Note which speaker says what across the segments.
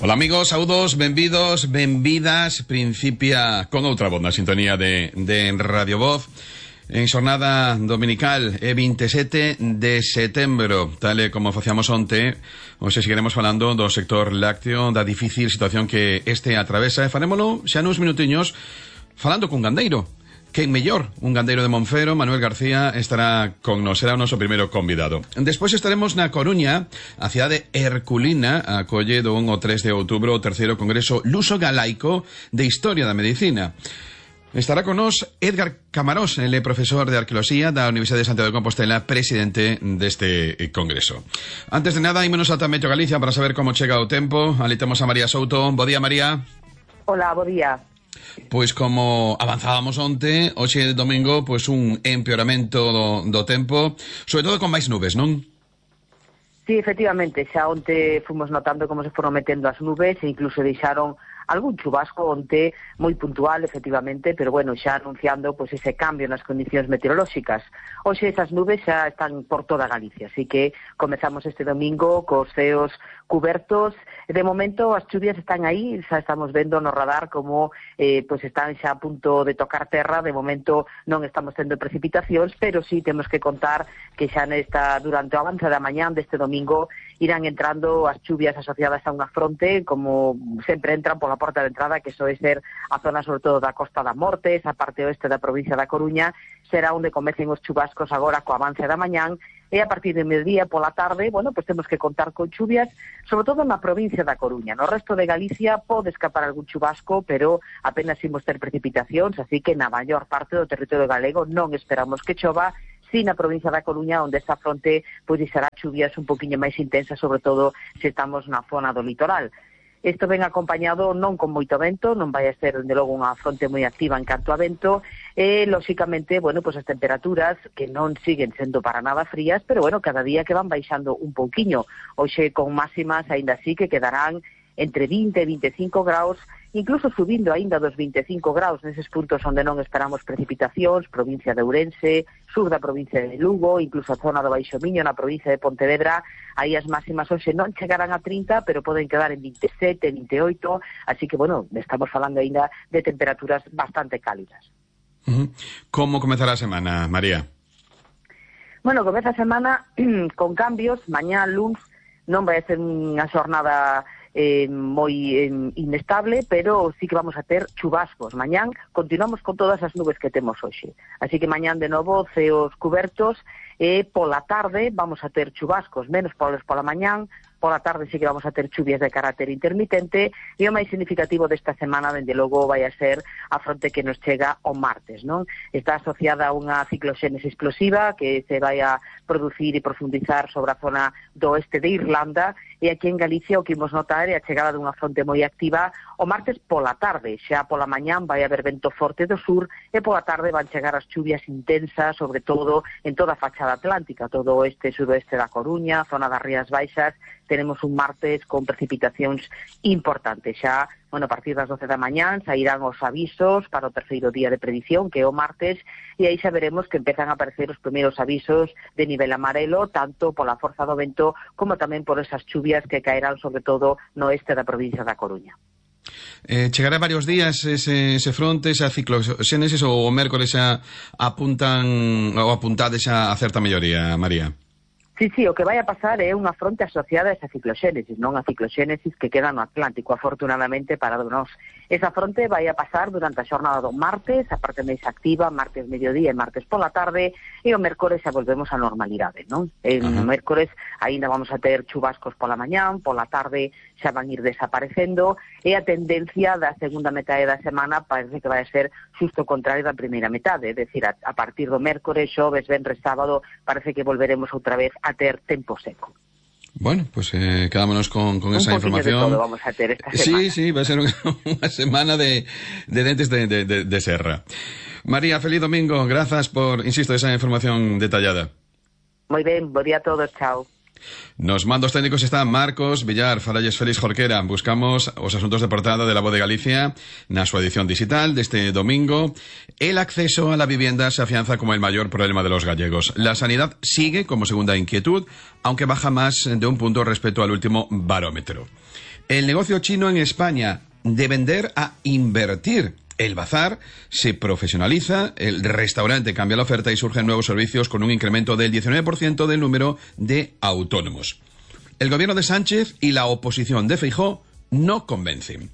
Speaker 1: Ola amigos, saúdos, benvidos, benvidas. Principia con outra voz na sintonía de Radio Voz en xornada dominical 27 de setembro. Tal e como facíamos onte, hoxe seguiremos falando do sector lácteo, da difícil situación que este atravesa, e farémolo xa nuns minutiños falando cun gandeiro. Quen mellor, un gandeiro de Monfero, Manuel García, estará con nos, será o noso primeiro convidado. Despois estaremos na Coruña, a cidade herculina, acolle do 1 ao 3 de outubro o terceiro congreso luso-galaico de Historia da Medicina. Estará con nos Edgar Camarós, ele profesor de Arqueoloxía da Universidade de Santiago de Compostela, presidente deste congreso. Antes de nada, ímonos ata Meteo Galicia para saber como chega o tempo. Ali temos a María Souto. Bo día, María.
Speaker 2: Hola, bo día.
Speaker 1: Pois como avanzábamos onte, hoxe domingo, pois un empeoramento do tempo, sobre todo con máis nubes, non?
Speaker 2: Sí, efectivamente, xa onte fomos notando como se foron metendo as nubes e incluso deixaron algún chubasco onte moi puntual, efectivamente, pero bueno, xa anunciando pois ese cambio nas condicións meteorolóxicas. Hoxe esas nubes xa están por toda Galicia, así que comezamos este domingo cos ceos cubertos. De momento as chuvias están aí, xa estamos vendo no radar como pois están xa a punto de tocar terra. De momento non estamos tendo precipitacións, pero sí temos que contar que xa durante o avance da mañán deste domingo irán entrando as chuvias asociadas a unha fronte, como sempre entran pola porta de entrada, que soe ser a zona sobre todo da Costa da Morte, esa parte oeste da provincia da Coruña, será onde comecen os chubascos agora co avance da mañán, e a partir de mediodía pola tarde, bueno, pues temos que contar con chuvias, sobre todo na provincia da Coruña. No resto de Galicia pode escapar algún chubasco, pero apenas imos ter precipitacións, así que na maior parte do territorio galego non esperamos que chova, si na provincia da Coruña, onde esta fronte pois será chuvias un poquinho máis intensas, sobre todo se estamos na zona do litoral. Isto ven acompañado non con moito vento, non vai a ser, dende logo, unha fronte moi activa en canto a vento, e, lóxicamente, bueno, pues as temperaturas que non siguen sendo para nada frías, pero, bueno, cada día que van baixando un pouquiño. Hoxe con máximas, aínda así, que quedarán entre 20 e 25 graus, incluso subindo aínda dos 25 graus neses puntos onde non esperamos precipitacións, provincia de Ourense, sur da provincia de Lugo, incluso a zona do Baixo Miño, na provincia de Pontevedra. Aí as máximas hoxe non chegarán a 30, pero poden quedar en 27, 28, así que, bueno, estamos falando aínda de temperaturas bastante cálidas.
Speaker 1: Como comezará a semana, María?
Speaker 2: Bueno, comeza a semana con cambios. Mañá, luns, non vai a ser unha xornada moi inestable, pero sí que vamos a ter chubascos. Mañán continuamos con todas as nubes que temos hoxe, así que mañán de novo ceos cubertos, e pola tarde vamos a ter chubascos, menos pola mañán. Pola tarde sí que vamos a ter chuvias de carácter intermitente, e o máis significativo desta semana, dende logo, vai a ser a fronte que nos chega o martes, non? Está asociada a unha cicloxénese explosiva que se vai a producir e profundizar sobre a zona do oeste de Irlanda, e aquí en Galicia o que imos notar é a chegada dunha fronte moi activa o martes pola tarde. Xa pola mañán vai haber vento forte do sur, e pola tarde van chegar as chuvias intensas, sobre todo en toda a fachada atlántica, todo o oeste e sudoeste da Coruña, zona das Rías Baixas. Tenemos un martes con precipitacións importantes. Xa, bueno, a partir das 12 da mañán sairán os avisos para o terceiro día de predición, que é o martes, e aí xa veremos que empezan a aparecer os primeiros avisos de nivel amarelo, tanto pola forza do vento como tamén por esas chuvias que caerán sobre todo no oeste da provincia da Coruña.
Speaker 1: Chegará varios días ese fronte, esa cicloxénesis, ou o mércores xa apuntan ou apuntades xa a certa melloría, María?
Speaker 2: Sí, o que vai a pasar é unha fronte asociada a esa cicloxénesis, non a cicloxénesis que queda no Atlántico, afortunadamente para nós. Esa fronte vai a pasar durante a xornada do martes, a parte máis activa, martes mediodía e martes pola tarde, e o mércores xa volvemos á normalidade, non? O mércores aínda vamos a ter chubascos pola mañán, pola tarde xa van ir desaparecendo, e a tendencia da segunda metade da semana parece que vai a ser xusto o contrario da primeira metade, é dicir, a partir do mércores, xoves, venres, sábado, parece que volveremos outra vez a ter tempo seco.
Speaker 1: Bueno, pues quedámonos con esa información.
Speaker 2: Un poquinho de todo vamos a ter esta semana.
Speaker 1: Sí, va a ser unha semana de dentes de serra. María, feliz domingo. Grazas por, insisto, esa información detallada.
Speaker 2: Moi ben, bo día a todos, chao.
Speaker 1: Nos mandos técnicos está Marcos Villar, faralles Félix Jorquera. Buscamos os asuntos de portada de La Voz de Galicia na súa edición digital deste domingo. El acceso a la vivienda se afianza como el mayor problema de los gallegos. La sanidad sigue como segunda inquietud, aunque baja más de un punto respecto al último barómetro. El negocio chino en España, de vender a invertir. El bazar se profesionaliza, el restaurante cambia la oferta y surgen nuevos servicios con un incremento del 19% del número de autónomos. El gobierno de Sánchez y la oposición de Feijóo no convencen.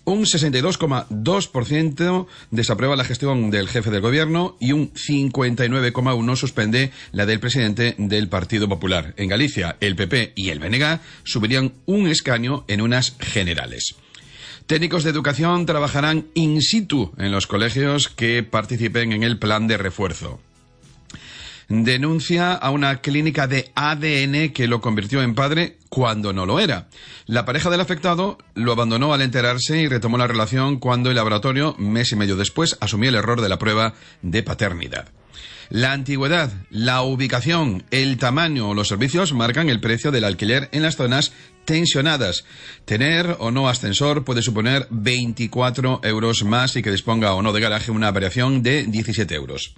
Speaker 1: Un 62,2% desaprueba la gestión del jefe del gobierno y un 59,1% suspende la del presidente del Partido Popular. En Galicia, el PP y el BNG subirían un escaño en unas generales. Técnicos de educación trabajarán in situ en los colegios que participen en el plan de refuerzo. Denuncia a una clínica de ADN que lo convirtió en padre cuando no lo era. La pareja del afectado lo abandonó al enterarse y retomó la relación cuando el laboratorio, mes y medio después, asumió el error de la prueba de paternidad. La antigüedad, la ubicación, el tamaño o los servicios marcan el precio del alquiler en las zonas tensionadas. Tener o no ascensor puede suponer 24 euros más y que disponga o no de garaje una variación de 17 euros.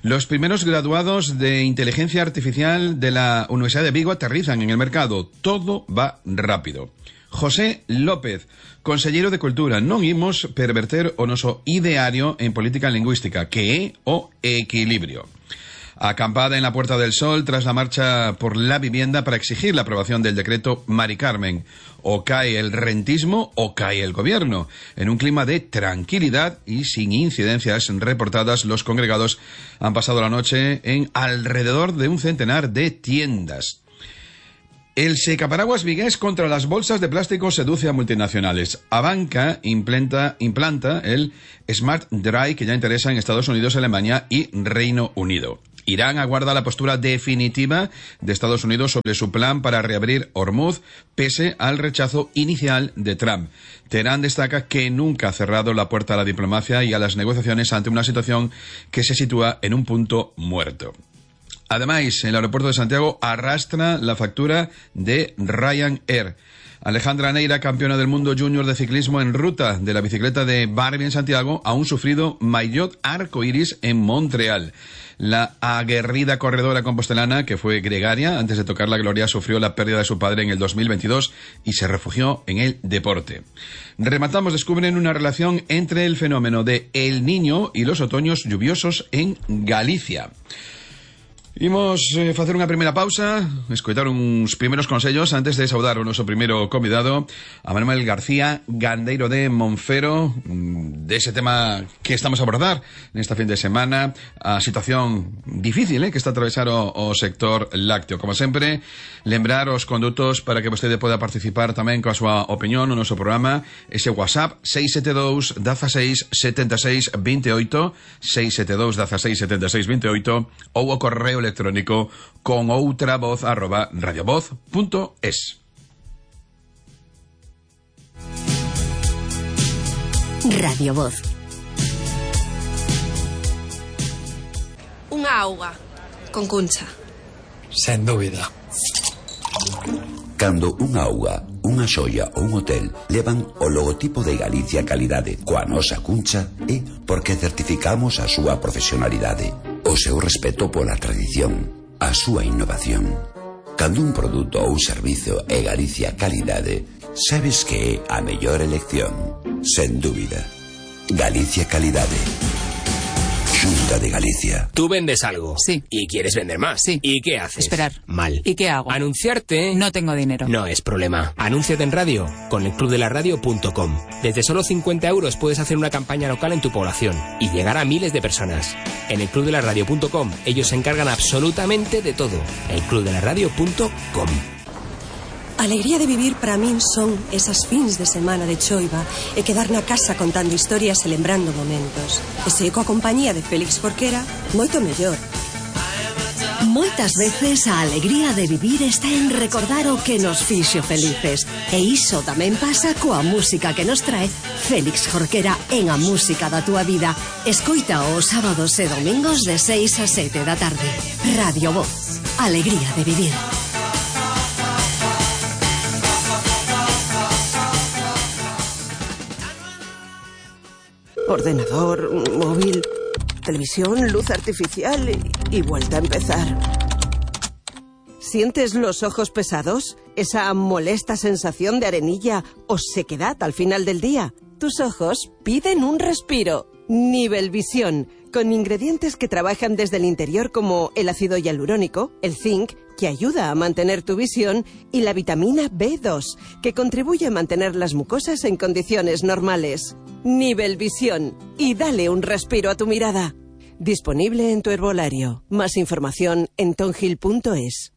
Speaker 1: Los primeros graduados de inteligencia artificial de la Universidad de Vigo aterrizan en el mercado. Todo va rápido. José López, consellero de Cultura, non imos perverter o noso ideario en política lingüística, que é o equilibrio. Acampada en la Puerta del Sol tras la marcha por la vivienda para exigir la aprobación del decreto Mari Carmen. O cae el rentismo o cae el gobierno. En un clima de tranquilidad y sin incidencias reportadas, los congregados han pasado la noche en alrededor de un centenar de tiendas. El secaparaguas vigués contra las bolsas de plástico seduce a multinacionales. Abanca implanta el Smart Dry que ya interesa en Estados Unidos, Alemania y Reino Unido. Irán aguarda la postura definitiva de Estados Unidos sobre su plan para reabrir Hormuz, pese al rechazo inicial de Trump. Teherán destaca que nunca ha cerrado la puerta a la diplomacia y a las negociaciones ante una situación que se sitúa en un punto muerto. Además, el aeropuerto de Santiago arrastra la factura de Ryanair. Alejandra Neira, campeona del mundo junior de ciclismo en ruta de la bicicleta de Barbie en Santiago, aún sufrido maillot arcoiris en Montreal. La aguerrida corredora compostelana, que fue gregaria antes de tocar la gloria, sufrió la pérdida de su padre en el 2022 y se refugió en el deporte. Rematamos, descubren una relación entre el fenómeno de El Niño y los otoños lluviosos en Galicia. Imos facer unha primeira pausa, escoitar uns primeiros consellos antes de saudar o noso primeiro convidado, a Manuel García, gandeiro de Monfero, dese tema que estamos a abordar nesta fin de semana, a situación difícil que está a atravesar o sector lácteo. Como sempre, lembrar os condutos para que vostede poda participar tamén coa súa opinión no noso programa, ese WhatsApp 672 16 76 28, 672 16 76 28, ou o correo electrónico con outravoz@radiovoz.es.
Speaker 3: Radio Voz.
Speaker 4: Unha auga con Cuncha.
Speaker 5: Sen dúbida.
Speaker 6: Cando unha auga, unha xoia ou un hotel levan o logotipo de Galicia Calidade coa nosa Cuncha, é porque certificamos a súa profesionalidade, o seu respeto pola tradición, a súa innovación. Cando un produto ou servizo é Galicia Calidade, sabes que é a mellor elección. Sen dúbida. Galicia Calidade. Xunta de Galicia.
Speaker 7: Tú vendes algo.
Speaker 8: Sí.
Speaker 7: Y quieres vender más.
Speaker 8: Sí.
Speaker 7: ¿Y qué haces?
Speaker 8: Esperar.
Speaker 7: Mal.
Speaker 8: ¿Y qué hago?
Speaker 7: Anunciarte.
Speaker 8: No tengo dinero.
Speaker 7: No es problema. Anúnciate en radio con elclubdelaradio.com. Desde solo 50 euros puedes hacer una campaña local en tu población y llegar a miles de personas. En elclubdelaradio.com ellos se encargan absolutamente de todo. elclubdelaradio.com.
Speaker 9: A alegría de vivir para min son esas fins de semana de choiva e quedar na casa contando historias e lembrando momentos. E se coa compañía de Félix Jorquera, moito mellor.
Speaker 3: Moitas veces a alegría de vivir está en recordar o que nos fixo felices. E iso tamén pasa coa música que nos trae Félix Jorquera en A Música da Túa Vida. Escoita os sábados e domingos de 6 a 7 da tarde. Radio Voz. Alegría de vivir.
Speaker 9: Ordenador, móvil, televisión, luz artificial y vuelta a empezar.
Speaker 8: ¿Sientes los ojos pesados? ¿Esa molesta sensación de arenilla o sequedad al final del día? Tus ojos piden un respiro. Nivelvisión, con ingredientes que trabajan desde el interior como el ácido hialurónico, el zinc, que ayuda a mantener tu visión, y la vitamina B2, que contribuye a mantener las mucosas en condiciones normales. Nivelvisión, y dale un respiro a tu mirada. Disponible en tu herbolario. Más información en tonhill.es.